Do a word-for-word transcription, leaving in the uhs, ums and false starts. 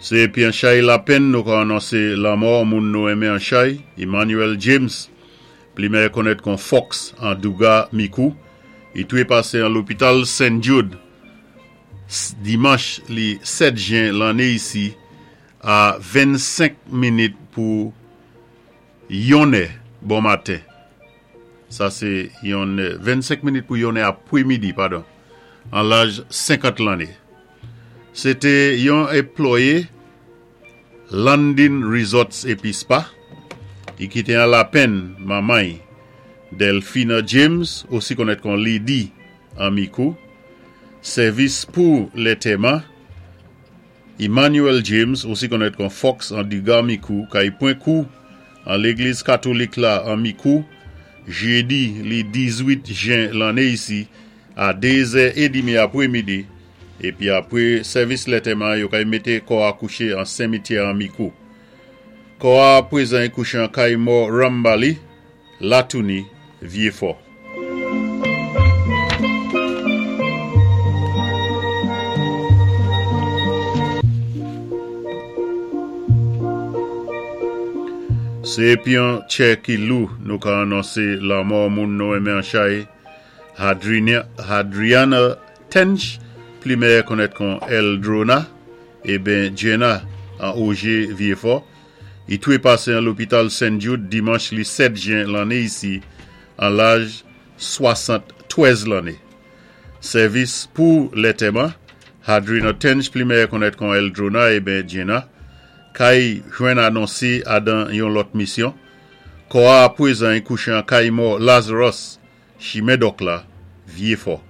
Sé épi an chay lapenn nou ka anonsé lanmò moun nou enmen an chay, Emmanuel James, pli mèyè konnèt kon Fox an Douga Mikou, i touwé pasé an lopital Saint Jude dimanch li sèt jen lanné isi a vennsenk minit pou yonnè bon maten. Sa sé yonnè, vennsenk minit pou yonnè apwémidi, padon, an laj senkant lanné. Sé té yon anplwayé Landing Resorts épi Spa, i kité an lapenn manman Delphina James, osi konnèt kon Lady an Mikou. Sèvis pou lantèman, Emmanuel James, osi konnèt kon Fox an Duga Mikou, kay pwan kou an légliz katolik la an Mikou, jédi li dizwit jen lanné isi a dézè édmi apwémidi, épi apwé sèvis lantèman, yo kay mété kò a kouché an simityè an Mikou. Kò a pwézan kouché an kay mò Rambali, Latouni, Vyéfò. Sé épi an tchè ki lou nou ka anonsé lanmò moun nou enmen an chay, Hadriana Tench, pli mèyè konnèt kon Eldrona, eben Jenna an Ogé Vyéfò, i touwé pasé an lopital Saint Jude dimanch li sèt jen lanné isi an laj swasant-twèz lanné. Sèvis pou lantèman, Hadriana Tench, pli mèyè konnèt kon Eldrona eben Jenna, kay jwenn anonsé adan yon lòt misyon. Kò a pwézan kouché an kay mò Lazarus, Chimèdòk la, Vyéfò.